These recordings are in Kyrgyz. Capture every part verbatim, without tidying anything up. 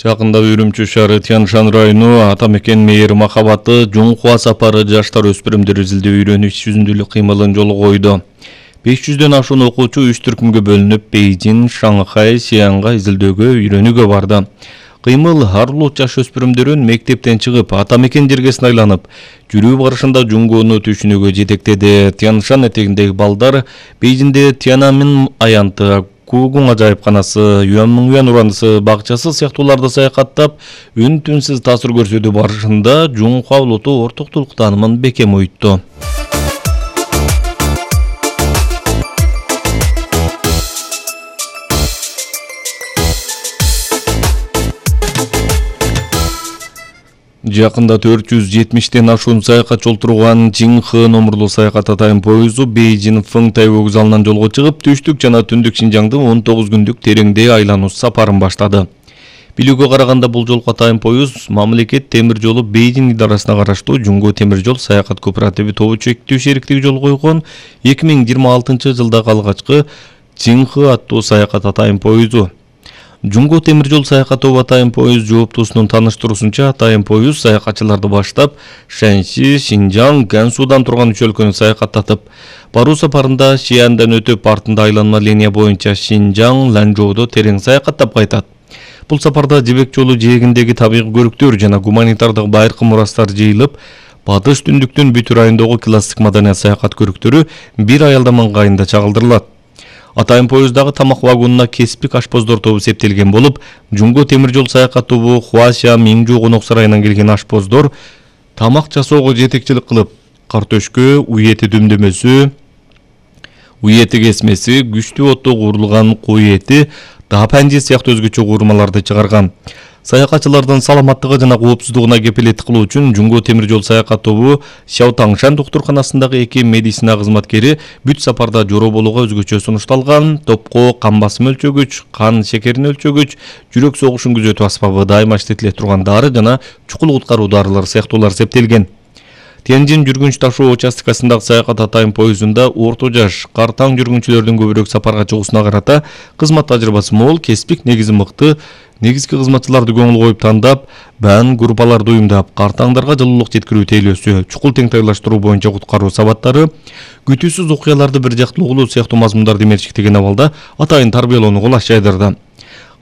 Жакында Үрүмчү шаары Тянь-Шань району ата мекен мээри махабаты Жуңхуа сапары жаштар өспүрүмдөр изилдөө үйрөнүш жүзүндүүлүк кыймылын жолго койду. беш жүздөн ашуун окуучу үч түркүмгө бөлүнүп Бейжин, Шанхай, Сианга изилдөөгө үйрөнүүгө барды. Кыймыл ар улут жаш өспүрүмдөрүн мектептен чыгып, ата мекен жергесине айланып, жүрүү барышында Жуңгууну түшүнүүгө жетектеди. Тянь-Шань этегиндеги балдар Бейжинде Тяньаньмин аянты, Куугун ажайыпканасы, Юанмиңюан ураанысы бакчасы сыяктууларды саякаттап, үн-түнсүз таасир көрсөтүү барышында Жуңхуа улуту ортоктулук таанымын бекем оютту. Жакында төрт жүз жетимиштен ашуун саякатчы олтурган Жинхэ номурлуу саякат атайын поезду Бейжин Фыңтай вокзалынан жолго чыгып, түштүк жана түндүк Шинжаңдын он тогуз күндүк тереңдээ айлануу сапарын баштады. Билүүгө караганда бул жолку атайын поезд мамлекет темир жолу Бейжин идарасына караштуу Жуңгуу темир жол саякат кооперативи тобу чектүү шериктиги жол койгон эки миң жыйырма алтынчы жылдагы алгачкы Жинхэ аттуу саякат атайын поезду. Жуңгуу темир жол саякат тобу атайын поезд жооптуусунун таныштыруусунча, атайын поезд саякатчыларды баштап Шэньси, Шинжаң, Гансудан турган үч өлкөнү саякаттатып, баруу сапарында Шиандан өтүп, артында айланма линия боюнча Шинжаң, Ланчжоудо терең саякаттап кайтат. Бул сапарда Жибек жолу жээгиндеги табигый көрүктөр жана гуманитардык байыркы мурастар жыйылып, батыш түндүктүн бүтүр айындагы классик маданият саякат көрүктөрү бир аялдам ыңгайында чагылдырылат. Атайын поездагы тамак вагонуна кеспик ашпоздор тобу септелген болуп, Жуңгуу темир жол саякат тобу Хуашя Миңжу конок сарайынан келген ашпоздор тамак жасоого жетекчилик кылып, картөшкө, уй эти дөмдөмөсү, уй эти кесмеси, күчтүү отто куурулган кой эти, дапанжи сыяктуу өзгөчө куурмаларды чыгарган. Саякатчылардын саламаттыгы жана коопсуздугуна кепилеттик кылуу үчүн Жуңгуу темир жол саякат тобу Шаотаңшан доктурканасындагы эки медицина кызматкери бүт сапарда жороо болууга өзгөчө сунушталган. Топко кан басым өлчөгүч, кан шекерин өлчөгүч, жүрөк согушун күзөтүү аспабы, дайыма иштетиле турган дары жана чукул куткаруу дарылары сыяктуулар септелген. Тяньжин жүргүнч ташуу участкасындагы саякат атайын поездунда орто жаш, картаң жүргүнчүлөрдүн көбүрөөк сапарга чыгуусуна карата кызмат тажрыйбасы мол, кеспик негизи мыкты, негизги кызматчыларды көңүл коюп тандап, баан группаларды уюмдап, картаңдарга жылуулук жеткирүү тейлөөсү, чукул теңтайлаштыруу боюнча куткаруу сабаттары, күтүүсүз окуяларды бир жактуу угулуу сыяктуу мазмундарды менчиктеген абалда атайын тарбиялоону кулаш жайдырды.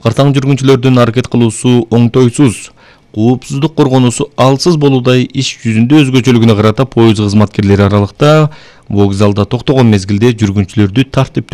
Картаң жүргүнчүлөрдүн аракет кылуусу оңтойсуз, коопсуздук коргонуусу алсыз болуудай иш жүзүндө өзгөчөлүгүнө карата поезд кызматкерлери аралыкта вокзалда токтогон мезгилде жүргүнчүлөрдү тартиптүү